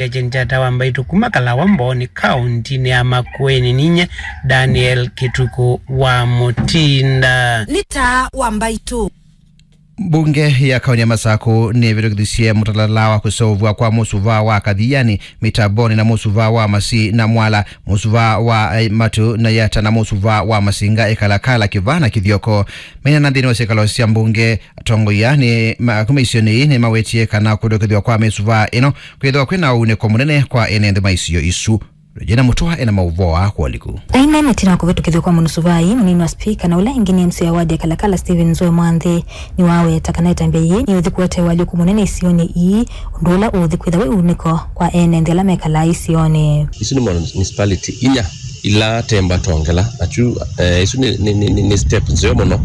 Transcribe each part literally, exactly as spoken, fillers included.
Agent Jata wa Mbaitũ kuma Kalawa Mbooni, kauntinĩ ya Makueni. Ninye Daniel Kĩtukũ wa Mũtinda. Nĩ taa wa Mbaitũ. Mbunge ya kaunti ya Masakũ nĩvĩtũkĩthisye mũtalala wa kũseũvw'a kwa mũsuvaa wa Kathiani, Mitamboni na mũsuvaa wa Masi na Mwala, mũsuvaa wa, eh, Matu na Yata na mũsuvaa wa Masinga, Ĩkalakala, Kĩvaa na Kĩthyoko. Maineena nthĩnĩ wa syĩkalo sya mbunge, atongoia nĩ ma-, kuma isionĩ ii nĩmawetie kana kũtũkĩthw'a kwa mĩsuvaa ĩno kwĩthĩwa kwĩna ũunĩko mũnene kwa ene nthĩ ma isio isu. Regina Mutua ena maũvoo aa kwa ũliku. Aineena ĩtina wa kũvĩtũkĩthw'a kwa mũsuvaa ii, mũnini wa spika na ũla ĩngĩ nĩ M C A wa ward ya Kalakala, Stephen Nzoe Mwanthi, nĩwaweta kana ĩtambya yĩĩ nĩyũthi kũete ũalyũku mũnene isionĩ ii, ũndũ ũla ũũthi kwĩtha wĩ ũunĩko kwa ene nthĩ ala mekalaa isionĩ. Isu nĩ municipality inya ila temba tongela, na kyu, eh, isu nĩ, nĩ, nĩ, nĩ, nĩ step nzeo mũno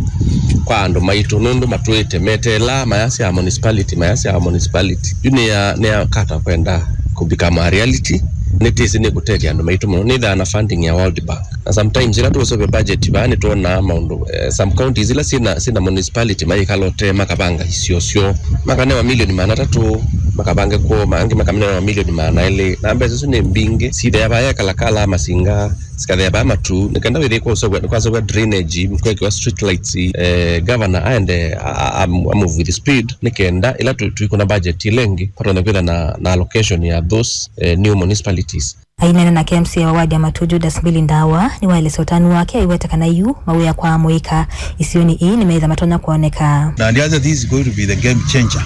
kwa andũ maitũ, nũndũ matwĩte meteelaa mayasya municipality, mayasya municipality. Yu nĩ ya, nĩ ya kata kwenda kũ become a reality, nĩtĩsĩ nĩkũtethya andũ maitũ mũno. Nĩthaa na funding ya World Bank. Na sometimes ila tũũseũvya budget vaa nĩtwonaa maũndũ, eh, some counties ila syĩna, syĩna municipality mayĩkala ũtee makavanga isio syoo. Makanewa milioni maana atatũ, makavange kwoo, angĩ makanewa milioni maana elĩ. Na mbesa isu nĩ mbingĩ, sithea vaa Kalakala, Masinga, sikathea vaa Matu, nĩ kenda wĩthĩe kwaseũvw'a, kwaseũvw'a drainage, kwekĩwa street lights, eh, governor aende a, a, a, a move with speed, nĩ kenda ila tũ-, twĩkũna budget ĩla ĩngĩ, kwatonya kwĩtha na, na allocation ya those, eh, new municipalities. Aineena nake M C A wa ward ya Matu, Judas Mbili Ndawa, nĩwaelesya ũtanu wake aiweta kana yu mawĩa kwa amũika isionĩ ii nĩmetha matonya kwoneka. Na ndiasya this is going to be the game changer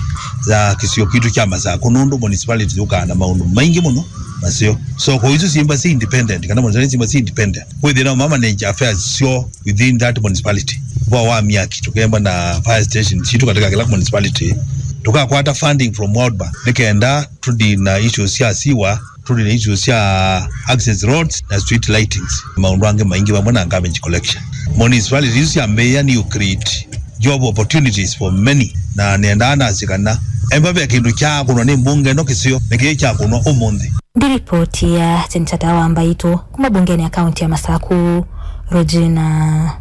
ya kĩsio kitũ kya Masakũ, nũndũ municipality yũkaa na maũndũ maingĩ mũno maseo. So kwa isu syĩmba syĩ independent, kana municipality syĩmba syĩ independent, kwĩthĩna ma manage affairs syoo within that municipality. Kwa wa myaki, tũkemba na fire station sitũ katika kĩla municipality, tũkakwata funding from World Bank nĩ kenda tũdeal na issues sya sewer, tũdeal na issues sya access roads na street lightings, maũndũ angĩ maingĩ vamwe na garbage collection. Municipalities isu syambĩĩa nĩ ũ create job opportunities for many, na nĩendaa nasye kana emba ve kĩndũ kyakũnwa nĩ mbunge ĩno kĩseo nĩkĩĩ kyakũnwa ũmũnthĩ. Ndi ripoti ya Chenchata wa Mbaitũ kuma mbungenĩ ya kaunti ya Masakũ, Regina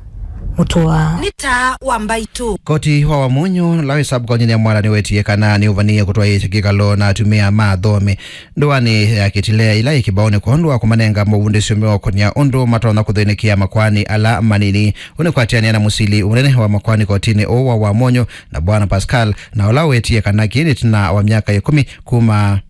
Mutua. Nĩ taa wa Mbaitũ. Koti wa Wamunyu, ũla wĩ sub-kauntinĩ ya Mwala, nĩwetie kana nĩũvanĩĩe kũtwaĩĩsya kĩkalo na atumĩa ma athome ndũanĩ ya Kitile ĩla yĩ kĩvaonĩ kwondũ wa kũmanenga mavundĩsyo meũkũnĩa ũndũ matonya kũthĩnĩkĩa makoani ala manini. Ũũ nĩ kwatĩanĩa na mũsili mũnene wa makoani kotinĩ ũũ wa Wamunyu na Bwana Pascal, na ũla wetie kana kĩĩ nĩ ĩtina wa myaka ĩkũmi kuma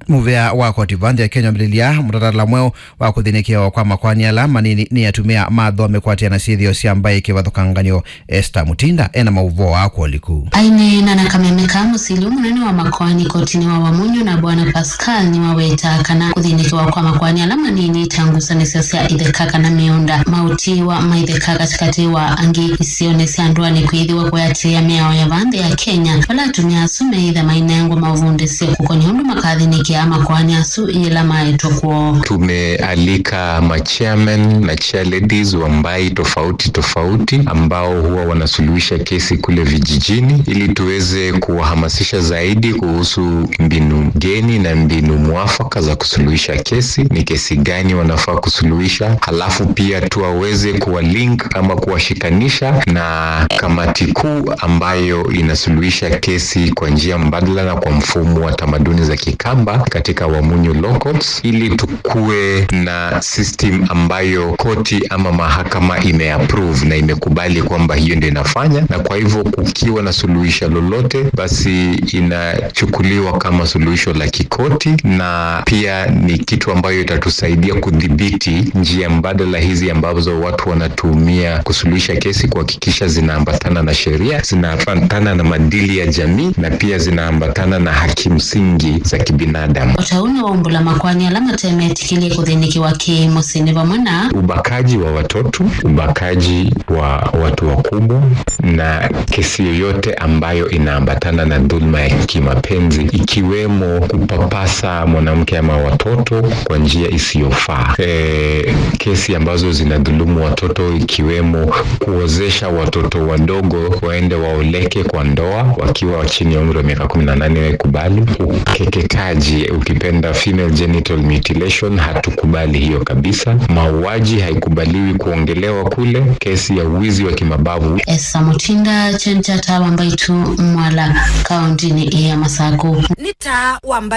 mũvea wa koti va nthĩ ya Kenya wambĩlĩlya mũtalatala mweũ wa kũthĩnĩkĩawa kwa makoani ala manini nĩ atumĩa ma athome kwatĩana syĩthĩo sya mbaĩ kĩvathũkanganyo. Esther Mutinda ena maũvoo aa kwa ũliku. Aineena na kameme ka mũsili mũnene wa makoani kotinĩ wa Wamunyu na Bwana Pascal nĩwawetaa kana kũthĩnĩkĩwa kwa makoani ala manini ta ngusanĩsyo sya itheka kana mĩũnda, maũtiĩwa ma itheka katĩkatĩ wa angĩ isionĩ sya ndũanĩ kwĩthĩwa kũatĩĩa mĩao ya va nthĩ ya Kenya, vala atumĩa asu meĩtha mainengwa mavundĩsyo kũkonya ũndũ makathĩnĩkĩa makoani asu yĩla maetwe kwoo. Tumealika machairman na chairladies wa mbaĩ tofauti tofauti ambao huwa wanasuluhisha kesi kule vijijini ili tuweze kuwahamasisha zaidi kuhusu mbinu geni na mbinu mwafaka za kusuluhisha kesi, ni kesi gani wanafaa kusuluhisha, halafu pia tuwaweze kuwalink ama kuwashikanisha na kamati kuu ambayo inasuluhisha kesi kwa njia mbadala na kwa mfumo wa tamaduni za Kikamba katika Wamunyu Law Courts, ili tukuwe na system ambayo koti ama mahakama imeapprove na imekubali kwamba hiyo ndio inafanya, na kwa hivyo kukiwa na suluhisho lolote, basi inachukuliwa kama suluhisho la kikoti, na pia ni kitu ambayo itatusaidia kudhibiti njia mbadala hizi ambazo watu wanatumia kusuluhisha kesi, kuhakikisha zinaambatana na sheria, zinaambatana na maadili ya jamii, na pia zinaambatana na haki msingi za kibinadamu. O ta ũu nĩwaumbũla makoani ala matemetĩkĩlye kũthĩnĩkĩwa kĩ mũsyĩ nĩ vamwe na ubakaji wa watoto, ubakaji wa watu wakubwa, na kesi yoyote ambayo inaambatana na dhulma ya kimapenzi, ikiwemo kupapasa mwanamke ama watoto kwa njia isiyofaa. E, kesi ambazo zinadhulumu watoto, ikiwemo kuozesha watoto wadogo waende waoleke kwa ndoa wakiwa chini ya umri wa miaka kumi na nane, haikubali. Ukeketaji, ukipenda female genital mutilation, hatukubali hiyo kabisa. Mauaji haikubaliwi kuongelewa kule. Kesi ya uwizi wa kimabavu. Esa Tinda kyeni kya taa wa Mbaitu Mwala, kaũntĩnĩ ya Masakũ. Nĩ taa wa Mbaitu.